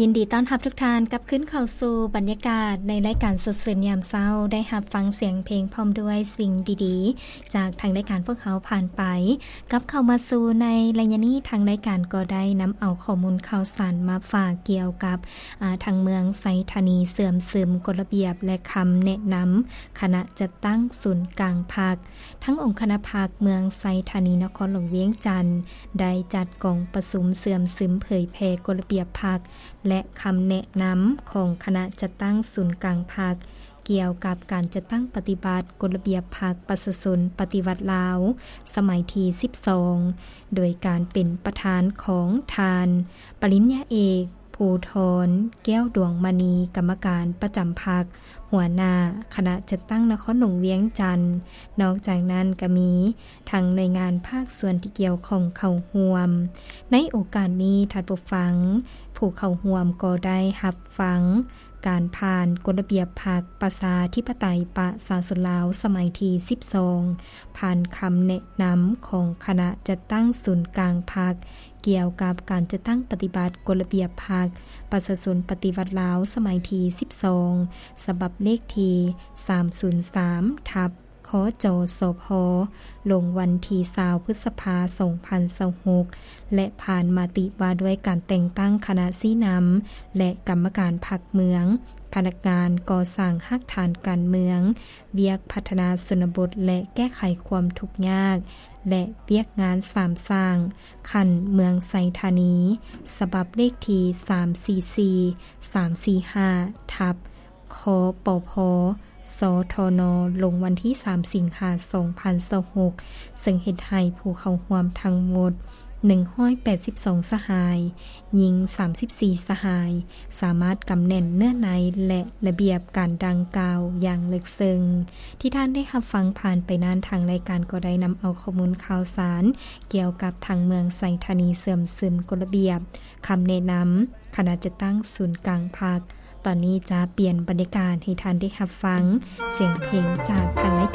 ຍິນດີຕ້ອນຮັບທຸກທ່ານກັບຄືນເຂົ້າສູ່ບັນຍາກາດໃນລາຍການສົດຊື່ນຍາມເຊົ້າ, ໄດ້ຮັບຟັງສຽງເພງພ້ອມດ້ວຍສິ່ງດີໆ ຈາກທາງລາຍການພວກເຮົາຜ່ານໄປ. ກັບເຂົ້າມາສູ່ໃນໄລຍະນີ້, ທາງລາຍການກໍໄດ້ນຳເອົາຂໍ້ມູນຂ່າວສານມາຝາກກ່ຽວກັບ ອາ ທາງເມືອງໄຊທານີເຊື່ອມຊຶມກົດລະບຽບ ແລະ ຄຳແນະນຳຄະນະຈັດຕັ້ງສູນກາງພັກ. ທາງອົງຄະນະພັກເມືອງໄຊທານີນະຄອນຫຼວງວຽງຈັນ ໄດ້ຈັດກອງປະຊຸມເຊື່ອມຊຶມເຜີຍແຜ່ກົດລະບຽບພັກ ແລະ ຄຳແນະນຳຂອງຄະນະຈັດຕັ້ງສູນກາງພັກ ກ່ຽວກັບການຈັດຕັ້ງປະຕິບັດກົດລະບຽບພັກປະຊາຊົນປະຕິວັດລາວ ສະໄໝທີສິບສອງ ໂດຍການເປັນປະທານຂອງທ່ານ ປະລິນຍາເອກ ພູທອນ ແກ້ວດວງມະນີ ກຳມະການປະຈຳພັກ ຫົວໜ້າຄະນະຈັດຕັ້ງນະຄອນຫຼວງວຽງຈັນ. ນອກຈາກນັ້ນກໍມີທັງໜ່ວຍງານພາກສ່ວນທີ່ກ່ຽວຂ້ອງເຂົ້າຮ່ວມ. ໃນໂອກາດນີ້, ທ່ານຜູ້ຟັງ ຜູ້ເຂົ້າຮ່ວມກໍໄດ້ຮັບຟັງການຜ່ານກົດລະບຽບພັກປະຊາທິປະໄຕປະຊາຊົນລາວ ສະໄໝທີສິບສອງ ຜ່ານຄຳແນະນຳຂອງຄະນະຈັດຕັ້ງສູນກາງພັກ ກ່ຽວກັບການຈັດຕັ້ງປະຕິບັດກົດລະບຽບພັກປະຊາຊົນປະຕິວັດລາວ ສະໄໝທີສິບສອງ ສະບັບເລກທີສາມສູນສາມ ທັບ ຄຈສພ ລົງວັນທີຊາວ ພຶດສະພາ ສອງພັນຊາວຫົກ ແລະ ຜ່ານມະຕິວ່າດ້ວຍການແຕ່ງຕັ້ງຄະນະຊີ້ນຳ ແລະ ກຳມະການພັກເມືອງ, ພະນັກງານກໍ່ສ້າງຮາກຖານການເມືອງ, ວຽກພັດທະນາຊົນນະບົດ ແລະ ແກ້ໄຂຄວາມທຸກຍາກ ແລະ ວຽກງານສາມສ້າງ ຂັ້ນເມືອງໄຊທານີ ສະບັບເລກທີສາມສີ່ສີ່ ສາມສີ່ຫ້າ ທັບ ຄປພ ສທນ ລົງວັນທີສາມສິງຫາ ສອງພັນຊາວຫົກ ເຊິ່ງເຮັດໃຫ້ຜູ້ເຂົ້າຮ່ວມທັງໝົດ ໜຶ່ງຮ້ອຍແປດສິບສອງສະຫາຍ, ຍິງສາມສິບສີ່ສະຫາຍ, ສາມາດກຳແໜ້ນເນື້ອໃນ ແລະ ລະບຽບການດັ່ງກ່າວຢ່າງເລິກເຊິ່ງ. ທີ່ທ່ານໄດ້ຮັບຟັງຜ່ານໄປນັ້ນ, ທາງລາຍການກໍໄດ້ນຳເອົາຂໍ້ມູນຂ່າວສານກ່ຽວກັບທາງເມືອງໄຊທານີເຊື່ອມຊຶມກົດລະບຽບ, ຄຳແນະນຳຄະນະຈັດຕັ້ງສູນກາງພັກ. ຕອນນີ້ຈະປ່ຽນບັນຍາກາດໃຫ້ທ່ານໄດ້ຮັບຟັງສຽງເພງຈາກທາງລາຍການ.